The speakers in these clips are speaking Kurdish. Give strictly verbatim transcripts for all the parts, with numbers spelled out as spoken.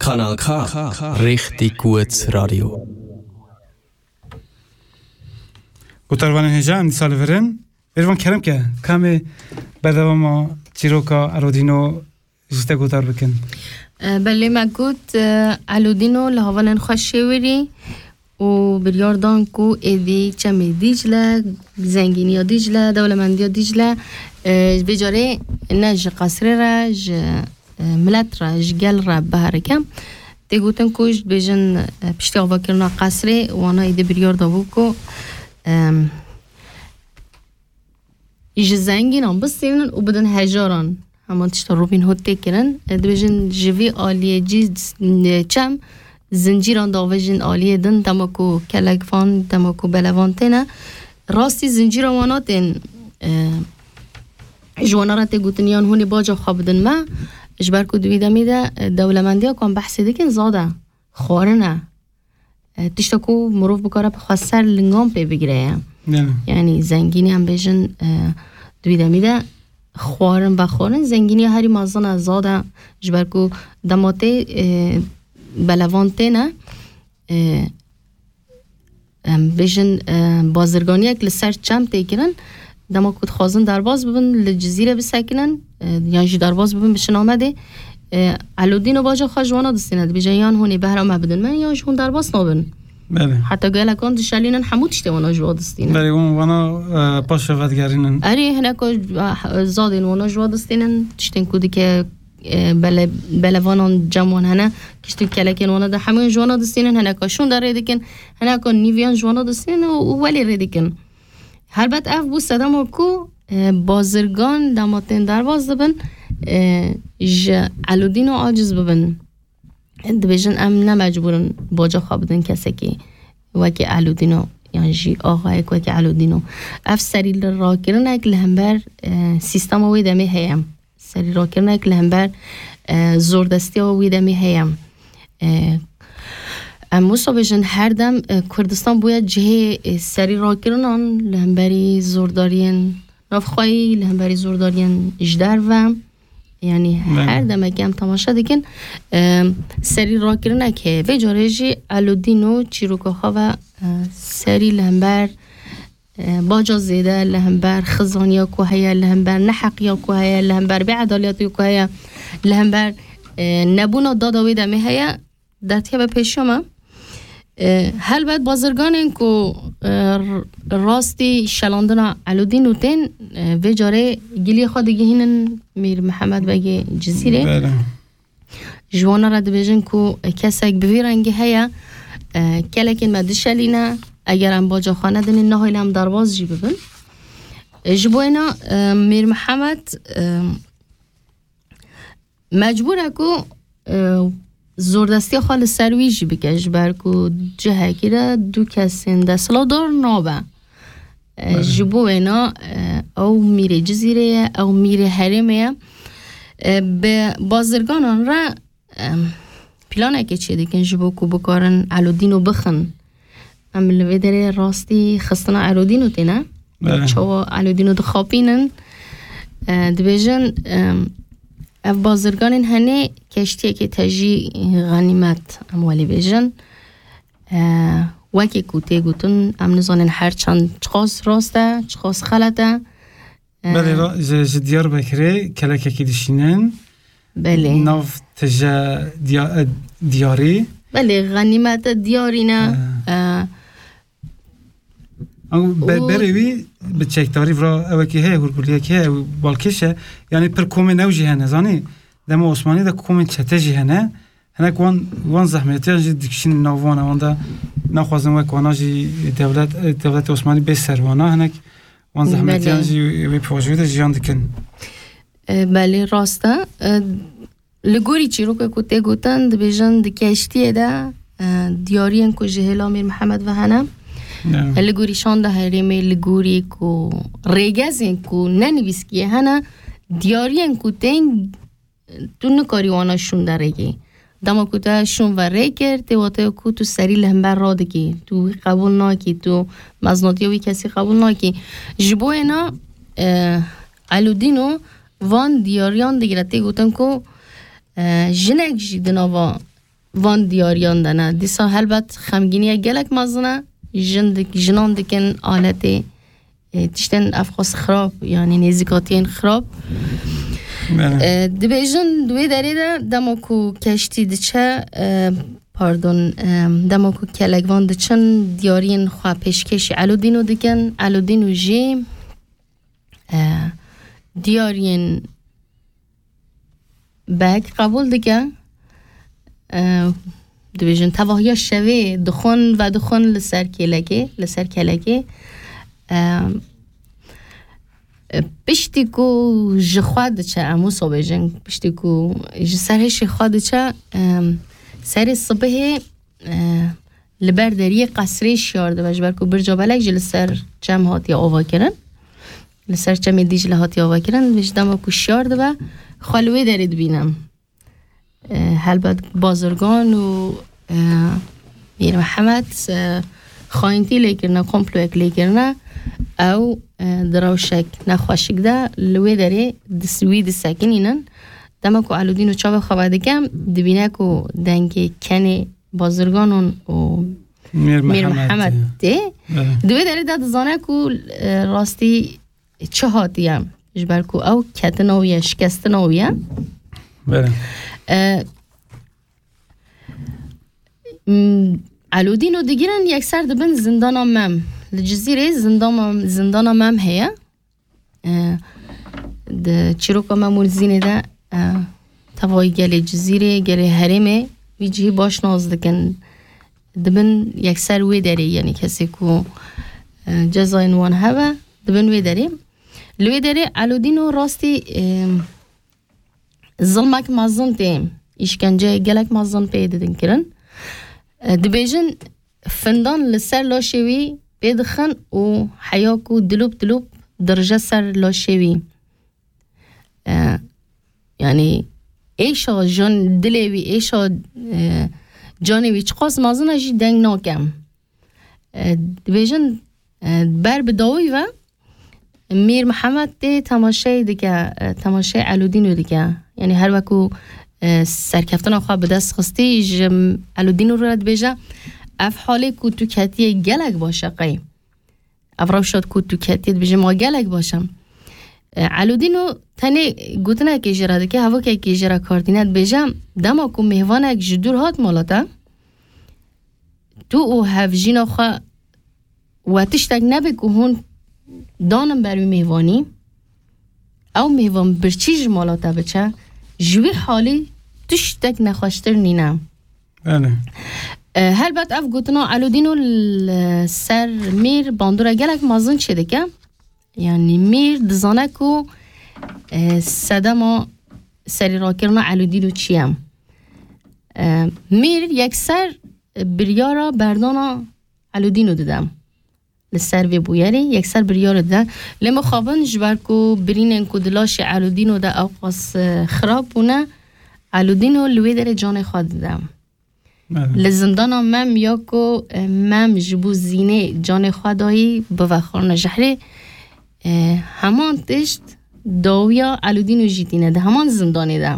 Kanal K, Richtig gut Radio. Gotarvanên hêja em dîsa li vir in. Mêrvan kerem ke, kamê berdewama çîroka Elodîno ji te gotar bikin. E, belê me got, e, Elodîno li hevalên xwe şêwirî û biryar dan ku êdî çemê Dîcle, zengîniya Dîcle, dewlemendiya Dîcle, e, vê carê ne ji qesrê re, ji, e, milet re, ji gel re biherike. Tê gotin ku ji dibêjin, e, piştî avakirina qesrê, wana êdî biryar dabû ku, em, ji zengînan bistînin û bidin hejaran. Hema tişta Robin Hood tê kirin. E, dibêjin ji vî aliyê cî, e, çem zincîran davêjin aliyê din, dema ku kelek van, dema ku belevan têne. Rastî zincîra wana tên, e, ji wana re tê gotin yan hûn ê baca xwe bidin me. Ji ber ku di wî demî de, e, dewlemendiya ku em behsê dikin zad e. Xwarin e. E, tişta ku mirov bikare bi xwe ser lingan pê bigire ye. Ne. Yanî zengînî em bêjin, e, di wî demî de xwarin vexwarin, zengîniya herî mezin e, zad e, ji ber ku dema tê, e, belevan têne, e, em bêjin, e, bazirganiyek li ser çem tê kirin, dema ku dixwazin derbas bibin, li Cizîrê bisekinin, e, yan jî derbas bibin biçin Amedê, e, Elodîno baca xwe ji wana distîne, dibêje yan hûn ê behra me bidin me, yan jî hûn derbas nabin. Belê. Heta gelekan dişelînin hemû tiştê wana ji wa distînin. Belê, hûn wana, e, paşê vedigerînin. Erê, hineka, e, zadên wana ji wa distînin, tiştên ku dike, e, bele-, belevanan cem wan hene, kişt û kelekên wana de hemûyan ji wana distînin, hineka şûn de rê dikin, hineka nîviyan ji wana distînin û, û welê rê dikin. Helbet ev bû sedema ku, e, bazirgan dema tên derbas dibin, e, ji Elodîno aciz bibin. Dibêjin em ne mecbûr in baca xwe bidin kesekî wekî Elodîno yan jî axayek wekî Elodîno. Ev serî li rakirinek li hember, e, sîstema wê demê heye. Serî rakirinek li hember, e, zordestiya wê demê heye. E, em wisa bêjin her dem, e, Kurdistan bûye cihê, e, serî rakirinan li hemberî zordariyên navxweyî, li hemberî zordariyên ji derve. Yanî Belê. Her demekê em temaşe dikin, e, serî rakirinek heye. Vê carê jî Elodîno çîroka xwe ve, e, serî li hember, e, baca zêde, li hember xizaniya ku heye, li hember neheqiya ku heye, li hember bêedaletiya ku heye, li hember, e, nebûna dada wê demê heye, dertî be pêşiya me. E, helbet bazirganên ku, e, r-, rastî şelandina Elodîno tên, e, vê carê giliyê xwe digihînin Mîr Mihemed Begê Cizîrê. Belê. Ji wana re dibêjin ku kesek bi vî rengî heye, e, kelekên me dişelîne, eger em baca xwe nedinê, nahêlin em derbas jî bibin. E, ji bo êna, e, Mîr Mihemed, e, mecbûr e ku, e, zordestiya xwe li ser wî jî bike, ji ber ku cihekî de du kesên desthilatdar nabe. E, Belê. Ji bo wêna, e, ew mîrê Cizîrê ye, ew mîrê herêmê ye. E, bi bazirganan re, e, planekê çêdikin ji bo ku bikarin Elodîno bixin. Em li vê derê rastî xistina Elodîno têne. Belê. Çawa Elodîno dixapînin? E, dibêjin, e, ev bazirganên henê keştiyekê tejî xenîmet, em welê bêjin. E, wekî ku tê gotin, em nizanin her çend çiqas rast e, çiqas xelet e. E, Belê, ra-, ji, ji Diyarbekirê kelekekî dişînin. Belê. Nav tije diya-, e, diyarî. Belê, xenîmete diyarî ne. E. E, Ew be-, û berê wî bi çekdarî vira ewekî heye, hûrguliyekî heye, ew balkêş e. Yanî pir komên ew jî hene, zanî? Dema Osmanî de komên çete jî hene. Hinek wan, wan zehmetiyan jî dikişînin nav wan, wan de naxwazin wek wana jî dewlet, dewletê Osmanî bê ser wana. Hinek wan zehmetiyan Belê. Jî wê pêvajoyê de jiyan dikin. E, belê, rast e. E, li gorî çîroka ku tê gotin, dibêjin di keştiyê de, e, diyariyên ku ji hêla Mîr Mihemed ve hene. Ya. E, li gorî şanda herêmê, li gorî ku rêgezên ku ne nivîskiyê hene, diyariyên ku tên tu nikarî wana şûn derêkî. Dema ku te şûn ve rê kir, tê wateya ku tu serî li hember radikî, tu wî qebûl nakî, tu meznatiya wî kesî qebûl nakî. Ji bo êna, e, Elûdîno van diyariyan digire. Tê gotin ku, e, jinek jî di nava van diyariyan de ne. Dîsa helbet xemgîniye gelek mezin e. Jin dik-, jinan dikin aletê, e, tiştên evqas xirab, yanî nêzîkatiyên xirab. Belê. E, dibêjin di wê derê de dema ku keştî diçe, e, pardon, e, dema ku kelekvan diçin diyariyên xwe pêşkêşî Elodîno dikin. Elodîno jî, e, diyariyên bek qebûl dike. E, dibêjin tevahiya şevê dixwin ve dixwin li ser kêlekê, li ser kelekê. E, e, piştî ku ji xwe diçe, em wisa bêjin, piştî ku ji ser hişê xwe diçe, e, serê sibihê, e, li ber deriyê qesrê şiyar dibe, ji ber ku birca belek jî li ser çem hatiye avakirin. Li ser çemê Dîcle hatiye avakirin, ji dema ku şiyar dibe, xwe li wê derê dibîne. E, helbet bazirgan û, e, Mîr Mihemed, e, xayintî lê kirine, komployek lê kirine. Ew, e, di rewşek nexweşik de li wê derê dis-, wî disekinînin. Dema ku Elûdîn û çavê xwe vedike, dibîne ku dengê kenê bazirganan û Mîr Mîr Mihemed Mihemed tê. Belê. Di wê derê de dizane ku, e, rastî çi hatiye. Ji ber ku ew ketina wî ye, şikestina wî ye. Belê. E, m, Elûdîno digirin yekser dibin zindana Mem. Li Cizîrê zindana, zindana Mem heye. E, di çîroka Mem û Zînê de, e, tevayî gelê Cizîrê, gelê herêmê vî cihî baş nas dikin. Dibin yekser wê derê, yanî kesê ku, e, cezayên wan hebe, dibin wê derê. Li wê derê Elûdîno rastî, e, zilmek mezin tê, îşkence gelek mezin pê didin kirin. E, dibêjin findan li ser laşê wî pê dixin û heya ku dilûp dilûp dirije ser laşê wî. E, yanî êşa jan dilê wî, êşa, e, canê wî çiqas mezin e jî deng nake. E, dibêjin, e, ber bi dawî ve Mîr Mihemed tê temaşeyê dike, e, temaşeyê Elûdîno dike. Yanî her weku, e, serkeftina xwe bi dest xistî, ji Elûdîno re dibêje, ev halê ku tu ketiye gelek baş e qey. Ev rewşa ku tu ketiye dibêje ma gelek baş e. E, Elûdîno tenê gotinekê jê re dike, hevokekê jê re kar tîne, dibêje, dema ku mêvanek ji dûr hat mala te, tu û hevjîna xwe we tiştek nebe ku hûn danin ber wî mêvanî, ew mêvan birçî ji mala te biçe, ji wî halî tiştek nexweştir nîne. Belê. E, helbet ev gotina Elûdîno li ser Mîr bandora gelek mezin çêdike. Yanî Mîr dizane ku, e, sedema serîrakirina Elûdîno çi ye. E, Mîr yekser biryara berdana Elûdîno dide. Li ser vê bûyerê yekser biryara dide. Lê mixabin ji ber ku birînên ku di laşê Elûdîno de ewqas, e, xirab bûne, Elûdîno li wê derê canê xwe dide. Belê. Li zindana Mem ya ku, e, Mem ji bo Zînê canê xwe dayî bivexirine jehrê, e, heman tişt dawiya Elûdîno jî tîne di heman zindanê de.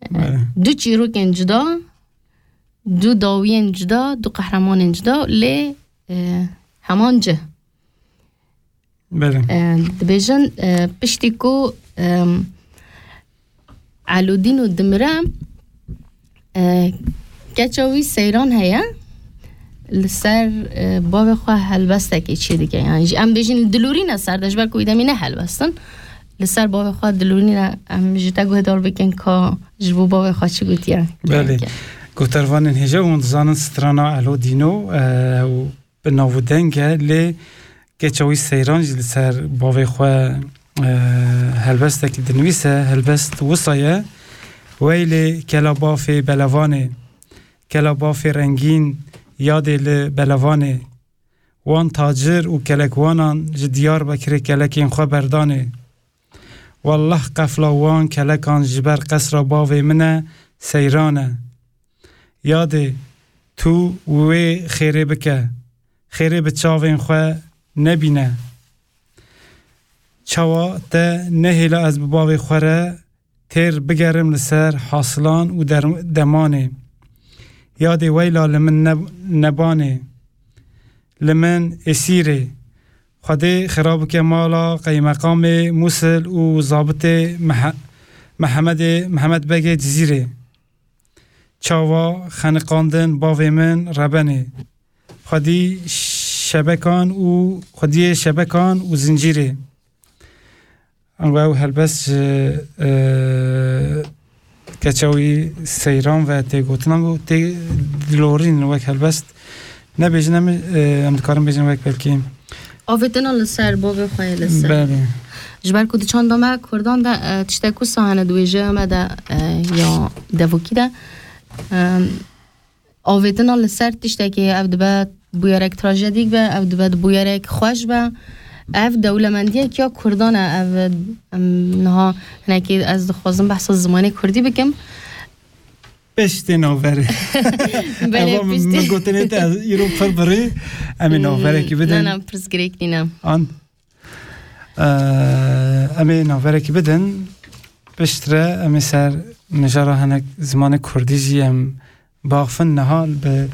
E, Belê. Du çîrokên cuda, du dawiyên cuda, du qehremanên cuda, lê, e, heman cih. Belê. E, dibêjin, e, piştî ku, e, Elûdîno dimire, e, keça wî Seyran heye, li ser, e, bavê xwe helbestekê çê dike. Yanî ji, em bêjin dilorîne ser de, ji ber ku wî demî ne helbestin. Li ser bavê xwe dilorîne, em ji te guhdar bikin ka ji bo bavê xwe çi gotiye. Belê. Gotarvanên hêja hûn dizanin strana Elûdîno, e, û bi nav û deng e, lê keça wî Seyran jî li ser bavê xwe, e, helbestekî dinivîse, helbest wisa ye, Weylê kela bafê belevanê, kela bafê rengîn, yadê li belevanê, wan tacir û kelekwanan ji Diyarbekirê kelekên xwe berdanê. Wallah qefla wan kelekan ji ber qesra bavê min e, Seyran e. Yadê, tu wê xêrê bike, xêrê bi çavên xwe nebîne. Çawa te nehêla ez bi bavê xwe re têr bigerim li ser hasilan û der-, demanê. Yadê weyla li min ne-, nebanê, li min êsîrê. Xwedê xira bike mala qeymeqamê Mûsil û zabitê Mehe-, Mehemedê, Mehemed Begê Cizîrê. Çawa xeniqandin bavê min rebenê. Xwedî şebekan û, xwediyê şebekan û zincîrê. Ango ew helbest ji, e, keça wî seyran ve tê gotinan û tê dilorîn wek helbest. Nebêjin em, e, em dikarin bêjin wek belkî. Avêtina li ser, bavê xwe yê li ser. Belê. Ji ber ku di çanda me Kurdan de, e, tiştek wisa hene di wêjeya me de, e, ya devokî de. E, Avêtina li ser tiştekê ev dibe bûyerek trajedîk be, ev dibe bûyerek xweş be. Ev dewlemendiyek ya Kurdan e, ev, em, niha hinekî ez dixwazim behsa zimanê Kurdî bikim. Piştê navberê. Belê, Eva min, piştê. Min gotinê te ez îro pir birî, em ê navberekî bidin. Na, na, pirs girêk nîne. An? Eee, em ê navberekî bidin. Piştre em ê ser mijara hinek zimanê Kurdî jî em baxifin. Niha bi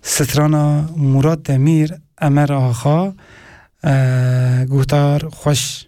strana Murat Demîr, Emer Axa, eee, guhdar xweş.